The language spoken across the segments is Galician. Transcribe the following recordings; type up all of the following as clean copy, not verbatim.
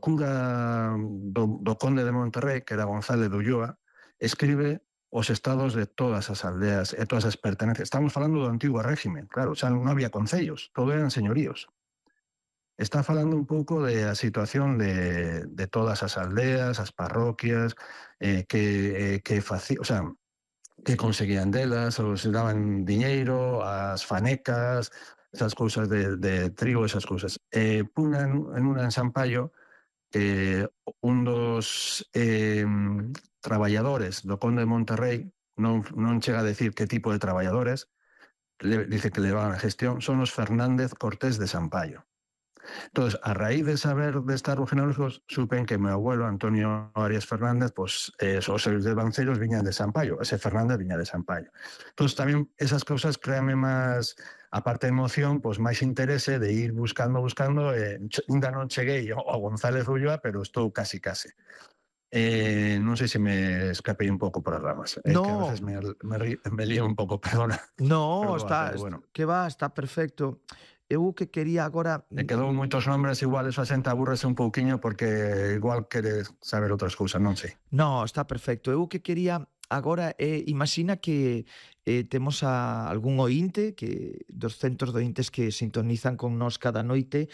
cura do conde de Monterrey, que era González de Ulloa, escribe os estados de todas as aldeas e todas as pertenencias. Estamos falando do antigo régimen, claro, xa non había concellos, todo eran señoríos. Está falando un pouco da situación de todas as aldeas, as parroquias, o sea, que conseguían delas, ou se daban diñeiro, as fanecas, esas cousas de trigo, esas cousas. Puna en una en San Paio que un dos traballadores do conde de Monterrey non chega a decir que tipo de traballadores, dice que levaban a gestión, son os Fernández Cortés de San Paio. Entonces, a raíz de saber de estos árboles genealógicos, supe que mi abuelo, Antonio Arias Fernández, pues os devanceiros viñan de San Paio, ese Fernández viña de San Paio. Entonces, también esas cosas créanme más, aparte de emoción, pues máis interese de ir buscando, ainda non cheguei ao González Ulloa, pero estou casi. Non sei se me escapei un pouco por as ramas, que a No, veces me lío un pouco, perdona, no, pero bueno. que va, está perfecto. Eu o que quería agora... Me quedou moitos nombres, igual eso a xente aburrese un pouquiño porque igual quere saber outras cousas, non sei. No, está perfecto. Eu o que quería agora é, imagina que temos a algún ointe, que dos centros de ointes que sintonizan con nós cada noite,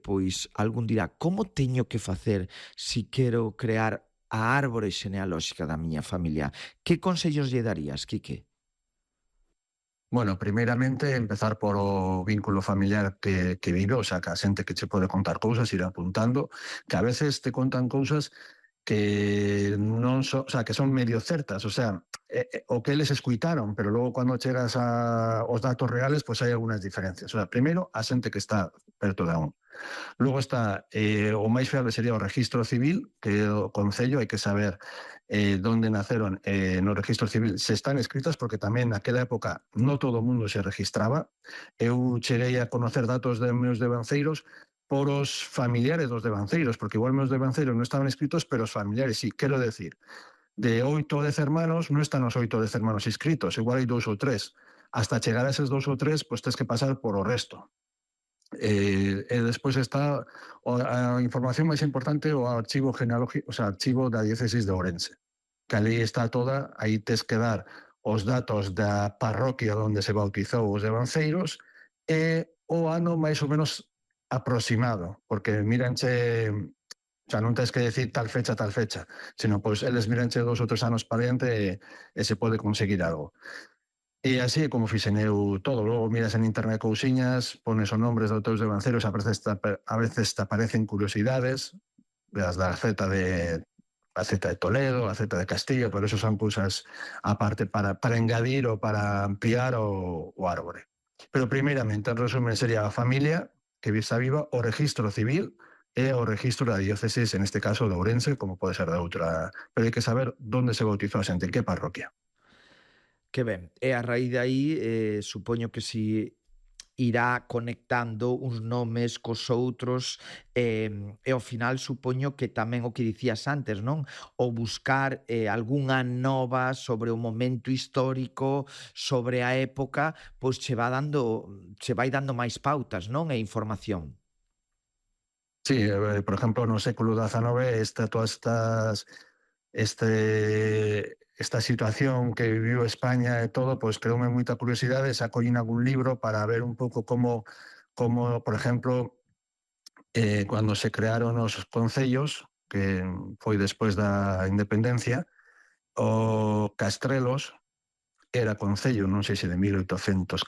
pois algún dirá, como teño que facer si quero crear a árbore xenealóxica da miña familia? Que consellos lle darías, Quique? Bueno, primeiramente empezar por o vínculo familiar que vive, o sea, que a xente que che pode contar cousas, ir apuntando, que a veces te contan cousas que non son, o sea, que son medio certas, o sea, o que eles escuitaron, pero logo cando chegas aos datos reales, pues hai algunhas diferencias. O sea, primeiro, a xente que está perto de un. Logo está, o máis fiable sería o registro civil, que o Concello hai que saber donde naceron no registro civil, se están escritas, porque tamén naquela época non todo o mundo se registraba. Eu cheguei a conocer datos de meus devanceiros por os familiares dos devanceiros, porque igual meus devanceiros non estaban escritos, pero os familiares sí. Quero decir, de 8 ou 10 hermanos, non están os 8 ou 10 hermanos inscritos, igual hai 2 ou 3. Hasta chegar a eses 2 ou 3, pues tens que pasar por o resto. Despois está a información máis importante, o archivo genealógico, o sea, archivo da diócesis de Ourense, que ali está toda, aí tes que dar os datos da parroquia onde se bautizou os devanceiros e o ano máis ou menos aproximado, porque míranche, o sea, non tens que decir tal fecha, sino pois eles míranche 2 ou 3 anos para diante e se pode conseguir algo. E así é como fixen eu todo. Logo miras en internet cousiñas, pones os nombres dos teus devanceiros, a veces te aparecen curiosidades, das da Z de Toledo, a Z de Castillo, pero eso son cousas aparte para engadir ou para ampliar o árbore. Pero primeiramente, en resumen, sería a familia que está viva, o registro civil e o registro da diócesis, en este caso de Ourense, como pode ser de outra. Pero hai que saber onde se bautizou a xente, en que parroquia. Que ben, e a raíz de aí supoño que si irá conectando uns nomes cos outros e ao final supoño que tamén o que dicías antes, non? O buscar algunha nova sobre o momento histórico, sobre a época, pois che vai dando máis pautas, non? E información. Sí, por ejemplo, no século XIX, esta situación que viviu España e todo, pues creoume moita curiosidade, sacollín algún libro para ver un pouco como por exemplo, cando se crearon os concellos, que foi despois da independencia, o Castrelos era concello, non sei se de 1814,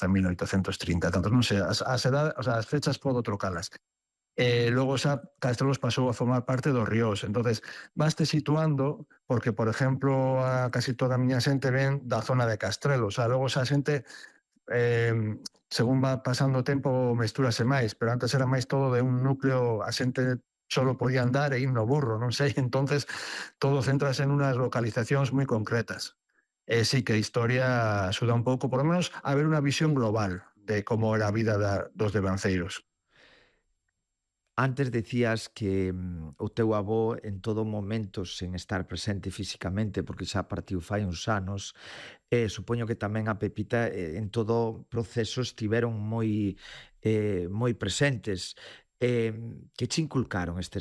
1830, tanto, non sei, as fechas podo trocalas. Logo xa Castrelos pasou a formar parte dos Ríos. Entonces, vaste situando, porque, por exemplo, a casi toda a miña xente ven da zona de Castrelos. Logo xa a xente, según va pasando o tempo, mestúrase máis, pero antes era máis todo de un núcleo, a xente solo podía andar e ir no burro, non sei, entonces todo centrase en unas localizacións moi concretas. Sí que a historia axuda un pouco, por lo menos, a ver unha visión global de como era a vida dos devanceiros. Antes decías que o teu avó en todo momento, sen estar presente fisicamente, porque xa partiu fai uns anos, supoño que tamén a Pepita en todo proceso estiveron moi presentes. Que che inculcaron estes